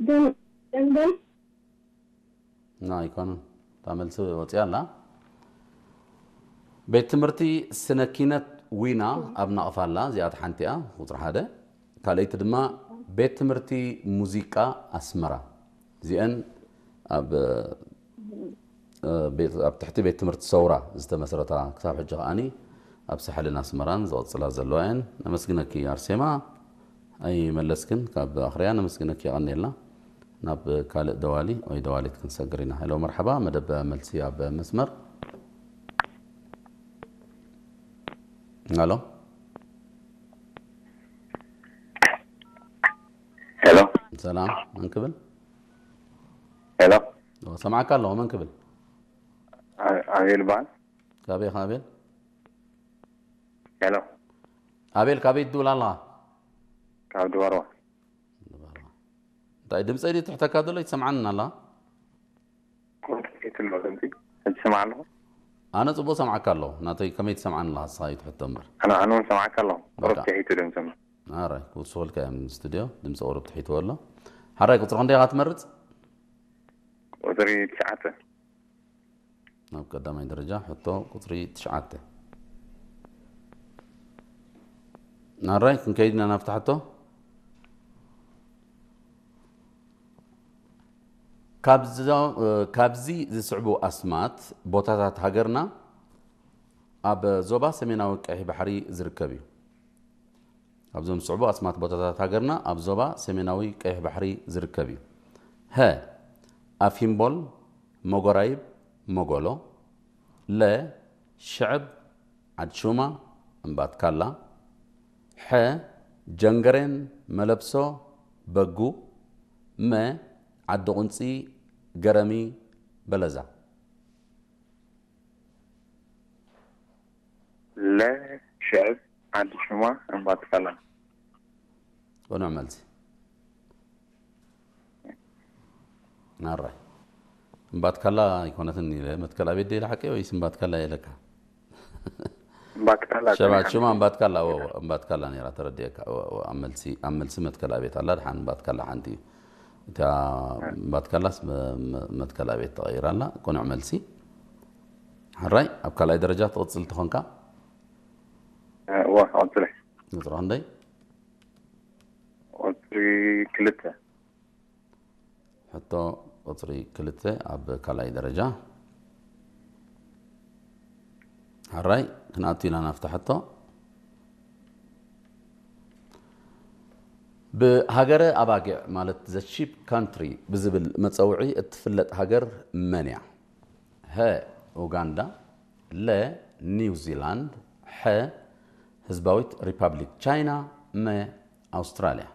ደንደን። ና ኣይኮነን። እታ መልሲ ወፂኣ ኣላ። ቤት ትምህርቲ ስነ ኪነት ዊና ኣብ ናቕፋ ኣላ። እዚኣ ሓንቲ እያ፣ ቁፅሪ ሓደ። ካልኣይቲ ድማ ቤት ትምህርቲ ሙዚቃ ኣስመራ። እዚአን ኣብ ኣብ ትሕቲ ቤት ትምህርቲ ሰውራ ዝተመስረታ ክሳብ ሕጂ ከዓኒ ኣብ ሳሕልን ኣስመራን ዝቐፅላ ዘለዋ እየን። ነመስግነኪ ኣርሴማ። ኣይመለስክን ካብ ኣኽርያ። ነመስግነኪ፣ የቐንየልና። ናብ ካልእ ደዋሊ ወይ ደዋሊት ክንሰግር ኢና። ሄሎ፣ መርሓባ። መደብ መልሲ ኣብ መስመር። ሄሎ። ሄሎ። ሰላም፣ መን ክብል? ሄሎ። ሰማዕካ ኣለኹ፣ መን ክብል? ኣቤል በሃል። ካበይ ኢኻ ኣቤል? ሄሎ። ኣቤል፣ ካበይ ትድውል ኣለኻ? ካብ ድባርዋ። ድባርዋ። እንታይ ድምፀይ ድዩ ትሕተካ ዘሎ? ይትሰምዓኒ ኣላ? ቁርጥ ይትሎ ድምፂ። ሕጂ ስማዕ ኣለኹ። ኣነ ጽቡቕ ሰምዓካ ኣለኹ። ናተይ ከመይ ትሰምዓኒ ኣለኻ? ንስኻ እዩ ትሕቶ እምበር። ኣነ ኣነ እውን ሰማዕካ ኣለኹ። ቁርጥ በቃ። ትሒቱ ድምፂ እምበር። ኣራይ፣ ክውስኹልካ እዮም ስቱድዮ። ድምፂ ቁሩብ ትሒትዎ ኣሎ። ሓራይ፣ ቁፅሪ ክንደይ ኢኻ ትመርጽ? ቁፅሪ ትሽዓተ። ናብ ቀዳማይ ደረጃ ሕቶ ቁፅሪ ትሽዓተ። ኣራይ፣ ክንከይድ ኢና ናብቲ ሕቶ። ካብዞ-፣ ካብዚ ዝስዕቡ ኣስማት ቦታታት ሃገርና ኣብ ዞባ ሰሜናዊ ቀይሕ ባሕሪ ዝርከብ እዩ። ካብዞም ዝስዕቡ ኣስማት ቦታታት ሃገርና ኣብ ዞባ ሰሜናዊ ቀይሕ ባሕሪ ዝርከብ እዩ። ሀ፣ ኣፊምቦል፣ መጎራይብ፣ መጎሎ። ለ፣ ሽዕብ፣ ዓድሹማ፣ እምባትካላ። ሐ፣ ጀንገሬን፣ መለብሶ፣ በጉ። መ፣ ዓዲ ቁንፂ፣ ገረሚ፣ በለዛ። ለ፣ ሽዕብ፣ ዓዲ ሹማ፣ እምባትካላ። ቅኑዕ መልሲ። ኣራይ። እምባትካላ ኣይኮነትን ኢለ፣ መትከል ኣቤት ደ ኢለ ሓቀይ ወይስ እምባትካላ ኢለካ? እምባትካላ ሸባ፣ ጽኒሓ ሽማ እምባትካላ፣ እወ፣ እወ፣ እምባትካላ ነይራ፣ ተረዲኤካ። እወ፣ እወ፣ ኣብ መልሲ፣ ኣብ መልሲ መትከል ኣቤት ኣላ፣ ድሓን እምባትካላ ሓንቲ እዩ። እታ እምባትካላስ መ-፣ መ-፣ መትከል ኣቤት ተቐይራ ኣላ። ቅኑዕ መልሲ። ሓራይ፣ ኣብ ካልኣይ ደረጃ ትቕጽል ተኾንካ? እወ፣ ቀጽለ። ቁጽሪ ክንደይ? ቁጽሪ ክልተ። ሕቶ ቁጽሪ ክልተ ኣብ ካልኣይ ደረጃ። ሓራይ፣ ክንኣቱ ኢና ናብታ ሕቶ። ብሃገረ ኣባጊዕ ማለት the sheep country ብዝብል መጸውዒ እትፍለጥ ሃገር መን እያ? ሀ፣ ኡጋንዳ። ለ፣ ኒውዚላንድ። ሐ፣ ህዝባዊት ሪፓብሊክ ቻይና። መ፣ ኣውስትራልያ።